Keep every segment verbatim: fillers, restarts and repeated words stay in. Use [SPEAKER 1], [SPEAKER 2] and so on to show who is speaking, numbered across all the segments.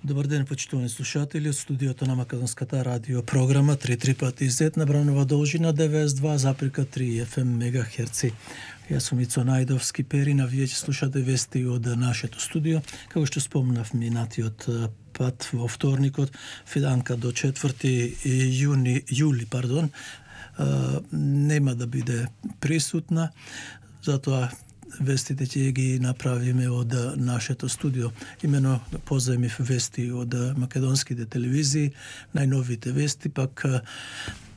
[SPEAKER 1] Добар ден, почитувани слушатели, од студиото на Македонската радио програма три три пати зет на бранова должина деветдесет и два запирка три еф ем мегахерци. Јас сум Ицо Најдовски Перина, вие ќе слушате вести од нашето студио. Како што спомнав минатиот пат во вторникот, Фиданка до четврти јуни, јули, пардон, нема да биде присутна, затоа вестите ќе ги направиме од нашето студио. Имено позаимив вести од македонските телевизии, најновите вести, пак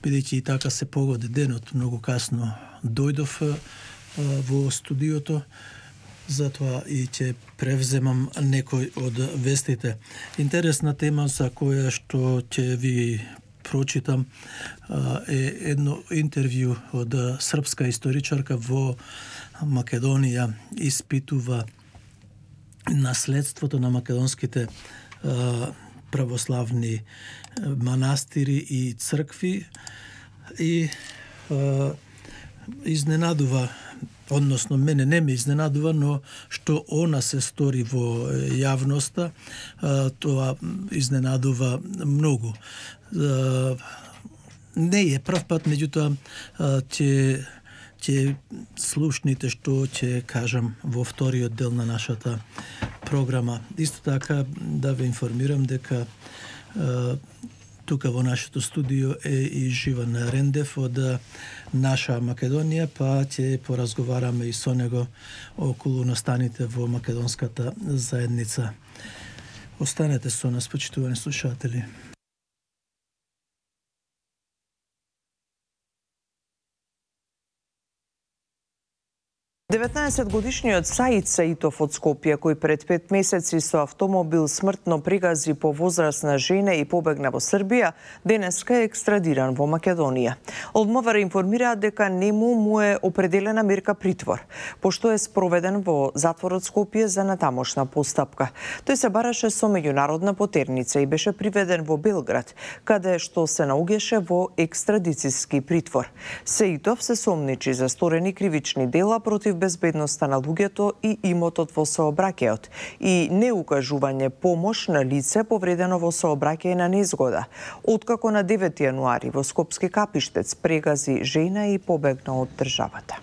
[SPEAKER 1] бидејќи и така се погоди денот, многу касно дојдов во студиото, затоа и ќе превземам некој од вестите. Интересна тема за која што ќе ви прочитам е едно интервју од српска историчарка во Македонија, испитува наследството на македонските православни манастири и цркви и изненадува, односно мене не ме изненадува, но што она се стори во јавноста, тоа изненадува многу. Не е прв пат, меѓутоа ќе ќе слушните што ќе кажам во вториот дел на нашата програма. Исто така да ве информирам дека тука во нашето студио е и Живан Рендев од Наша Македонија, па ќе поразговараме и со него околу настаните во македонската заедница. Останете со нас, почитувани слушатели.
[SPEAKER 2] деветнаесетгодишниот Саид Саитов од Скопје, кој пред пет месеци со автомобил смртно пригази по возрастна жена и побегна во Србија, денеска е екстрадиран во Македонија. Од МВР информираат дека нему му е определена мерка притвор, пошто е спроведен во затворот Скопје за натамошна постапка. Тој се бараше со меѓународна потерница и беше приведен во Белград, каде што се наоѓаше во екстрадициски притвор. Саитов се сомничи за сторени кривични дела против безбедноста на луѓето и имотот во сообраќајот и неукажување помош на лице повредено во сообраќај на незгода, откако на девети јануари во Скопски Капиштец прегази жена и побегна од државата.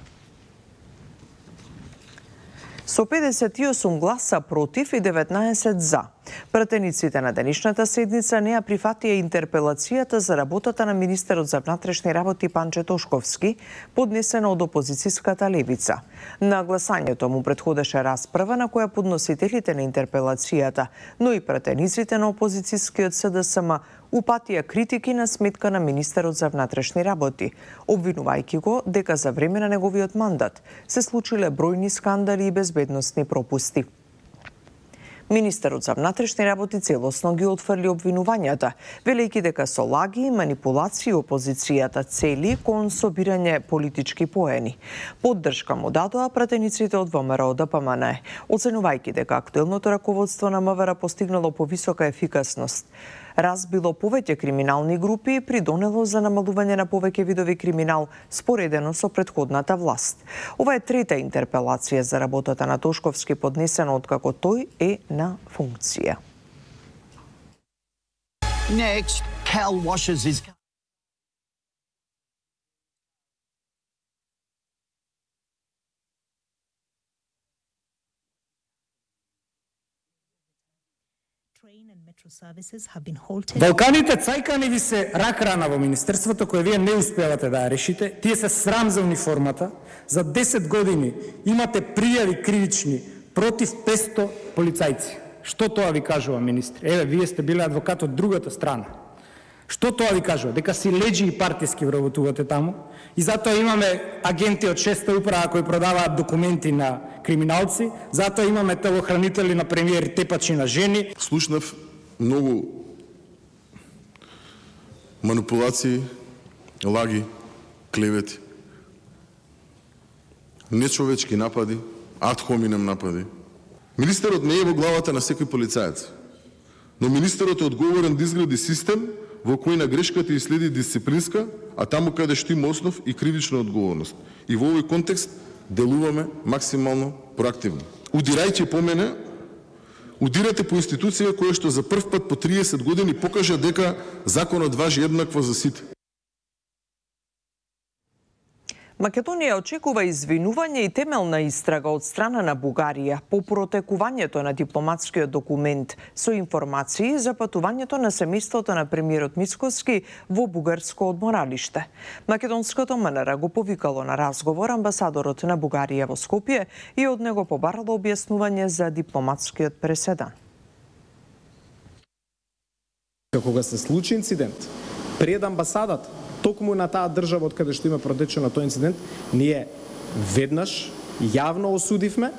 [SPEAKER 2] Со педесет и осум гласа против и деветнаесет за, пратениците на денешната седница не ја прифатија интерпелацијата за работата на министерот за внатрешни работи Панче Тошковски, поднесена од опозицијската левица. На гласањето му претходеше расправа на која подносителите на интерпелацијата, но и пратениците на опозицијскиот С Д С М упатија критики на сметка на министерот за внатрешни работи, обвинувајќи го дека за време на неговиот мандат се случиле бројни скандали и безбедносни пропусти. Министерот за внатрешни работи целосно ги отфрли обвинувањата, велејќи дека со лаги и манипулации опозицијата цели кон собирање политички поени. Поддршка му дадоа пратениците од В М Р О Д П М Н Е, оценувајќи дека актуелното раководство на МВР постигнало повисока ефикасност, разбило повеќе криминални групи и придонело за намалување на повеќе видови криминал споредено со претходната власт. Ова е трета интерпелација за работата на Тошковски поднесена откако тој е на функција.
[SPEAKER 3] Next, Cal washes his
[SPEAKER 4] Балканите цајкани ви се рак рана во министерството кој вие не успевате да ја решите. Тие се срам за униформата. За десет години имате пријави кривични против петсто полицајци. Што тоа ви кажува министри? Еве, вие сте биле адвокат од другата страна. Што тоа ви кажува? Дека си леđи и партиски вработувате таму и затоа имаме агенти од шеста управа кои продаваат документи на криминалци, затоа имаме телохранители на премиер тепачи на жени.
[SPEAKER 5] Слушнав многу манипулации, лаги, клевети, нечовечки напади, ад хоминем напади. Министерот не е во главата на секој полицаец, но министерот е одговорен да изгради систем во кој на грешката и следи дисциплинска, а таму каде што има основ и кривична одговорност. И во овој контекст делуваме максимално проактивно. Удирајќи по мене, удирате по институција која што за прв пат по триесет години покажа дека законот важи еднакво за сите.
[SPEAKER 2] Македонија очекува извинување и темелна истрага од страна на Бугарија по протекувањето на дипломатскиот документ со информации за патувањето на семејството на премиерот Мицкоски во бугарско одморалиште. Македонското МНР го повикало на разговор амбасадорот на Бугарија во Скопје и од него побарало објаснување за дипломатскиот преседан.
[SPEAKER 4] Кога се случи инцидент пред амбасадата, токму на таа држава од каде што има протечено тој инцидент, ние веднаш јавно осудивме,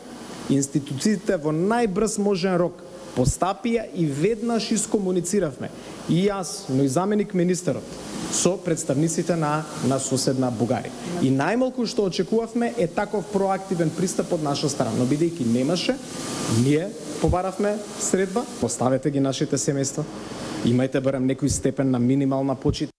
[SPEAKER 4] институциите во најбрз можен рок постапија и веднаш искомунициравме. И јас, но и заменик министерот, со представниците на, на соседна Бугарија. И најмалку што очекувавме е таков проактивен пристап од наша страна. Но бидејќи немаше, ние побаравме средба, поставете ги нашите семејства, имајте барем некој степен на минимална почит.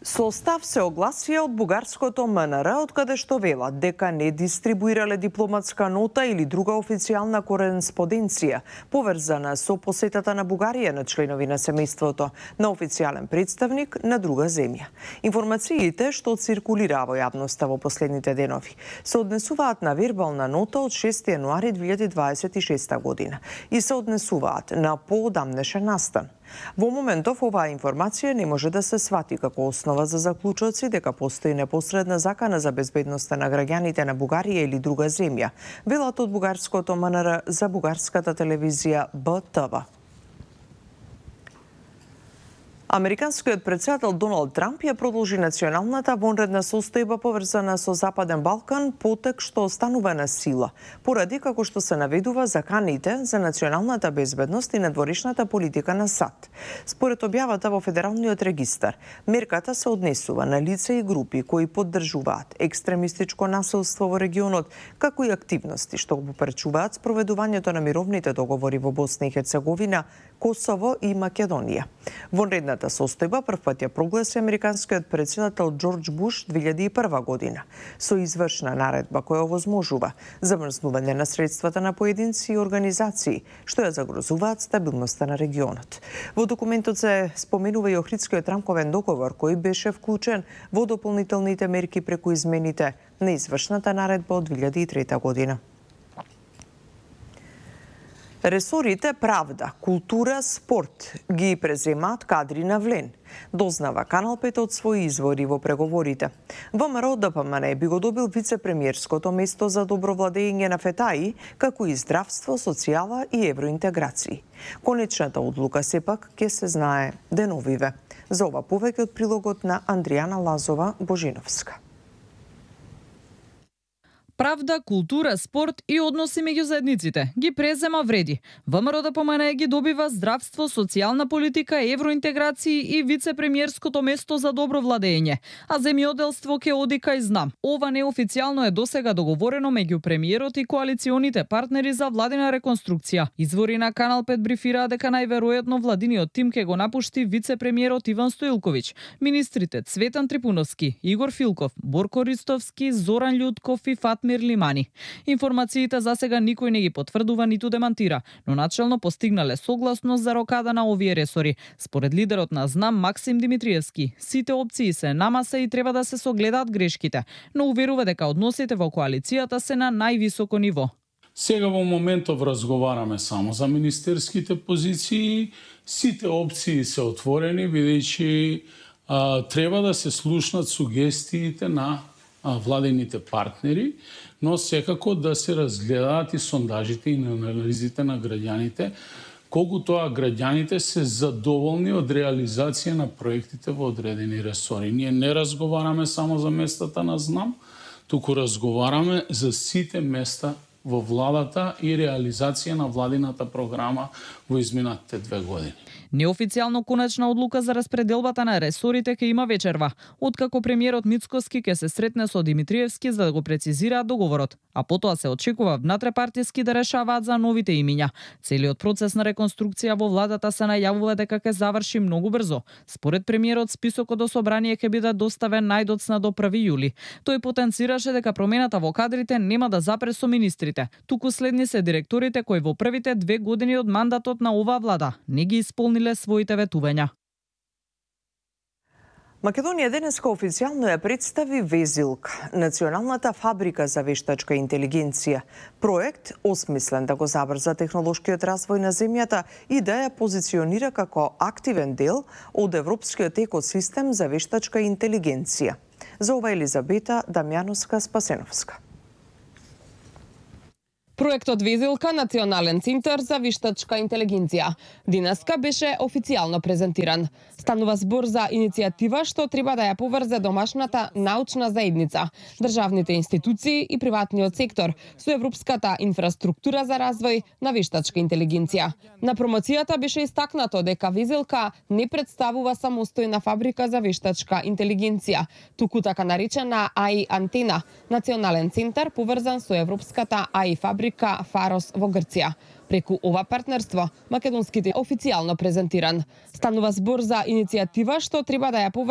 [SPEAKER 2] Со став се огласија од бугарското МНР, од каде што велат дека не дистрибуирале дипломатска нота или друга официјална кореспонденција поврзана со посетата на Бугарија на членови на семејството на официјален представник на друга земја. Информациите што циркулираа во јавноста во последните денови се однесуваат на вербална нота од шести јануари две илјади дваесет и шеста година и се однесуваат на поодамнешен настан. Во моментов оваа информација не може да се свати како основа за заклучоци дека постои непосредна закана за безбедноста на граѓаните на Бугарија или друга земја, велат од бугарското МНР за бугарската телевизија Б Т В. Американскиот претседател Доналд Трамп ја продолжи националната вонредна состојба поврзана со Западен Балкан, потек што останува на сила, поради како што се наведува заканите за националната безбедност и надворешната политика на САД. Според објавата во Федералниот регистар, мерката се однесува на лица и групи кои поддржуваат екстремистичко насилство во регионот, како и активности што го попречуваат спроведувањето на мировните договори во Босна и Херцеговина, Косово и Македонија. Вонредната состојба прв пат ја прогласи американскиот претседател Џорџ Буш две илјади и прва година со извршна наредба која овозможува замрзнување на средствата на поединци и организации што ја загрозуваат стабилноста на регионот. Во документот се споменува и Охридскиот рамковен договор кој беше вклучен во дополнителните мерки преку измените на извршната наредба од две илјади и трета година. Ресорите правда, култура, спорт ги преземаат кадри на влен, дознава Канал пет од своји извори во преговорите. ВМРО Д П М Н би го добил вице-премиерското место за добро владење на ФЕТАИ, како и здравство, социјала и евроинтеграции. Конечната одлука сепак ќе се знае деновиве. За ова повеќе од прилогот на Андријана Лазова Божиновска.
[SPEAKER 6] Правда, култура, спорт и односи меѓу заедниците ги презема вреди. ВМРО Д П М Н ги добива здравство, социјална политика, евроинтеграции и вице-премиерското место за добро владење, а земјоделство ќе оди кај знам. Ова неофицијално е досега договорено меѓу премиерот и коалиционите партнери за владина реконструкција. Извори на Канал пет брифираа дека најверојатно владиниот тим ќе го напушти вице-премиерот Иван Стоилковиќ, министрите Цветан Трипуновски, Игор Филков, Борко Ристовски, Зоран Љутков и Фатмир Лимани. Информациите за сега никој не ги потврдува ниту демантира, но начелно постигнале согласност за рокада на овие ресори. Според лидерот на ЗНАМ Максим Димитриевски, сите опции се на маса и треба да се согледаат грешките, но уверува дека односите во коалицијата се на највисоко ниво.
[SPEAKER 7] Сега во моментов разговараме само за министерските позиции, сите опции се отворени, бидејќи треба да се слушнат сугестиите на владените партнери, но секако да се разгледаат и сондажите и анализите на граѓаните, колку тоа граѓаните се задоволни од реализација на проектите во одредени ресори. Ние не разговараме само за местата на ЗНАМ, туку разговараме за сите места во владата и реализација на владината програма во изминатите две години.
[SPEAKER 6] Неофицијално конечна одлука за распределбата на ресорите ќе има вечерва, откако премиерот Мицкоски ќе се сретне со Димитриевски за да го прецизираат договорот, а потоа се очекува внатре-партиски да решаваат за новите имиња. Целиот процес на реконструкција во владата се најавува дека ќе заврши многу брзо. Според премиерот, списокот до собрание ќе биде доставен најдоцна до први јули. Тој потенцираше дека промената во кадрите нема да запре со министрите менеџерите, туку следни се директорите кои во првите две години од мандатот на оваа влада не ги исполниле своите ветувања.
[SPEAKER 2] Македонија денеска официјално ја представи Везилк, националната фабрика за вештачка интелигенција. Проект осмислен да го забрза технолошкиот развој на земјата и да ја позиционира како активен дел од европскиот екосистем за вештачка интелигенција. За ова Елизабета Дамјановска-Спасеновска.
[SPEAKER 8] Проектот Везилка, национален центар за вештачка интелигенција, денеска беше официјално презентиран. Станува збор за иницијатива што треба да ја поврзе домашната научна заедница, државните институции и приватниот сектор со европската инфраструктура за развој на вештачка интелигенција. На промоцијата беше истакнато дека Везилка не представува самостојна фабрика за вештачка интелигенција, туку така наречена А И антена, национален центар поврзан со европската А И фабрика Фарос во Грција. Преку ова партнерство, македонските официјално презентиран. Станува збор за иницијатива што треба да ја поврзе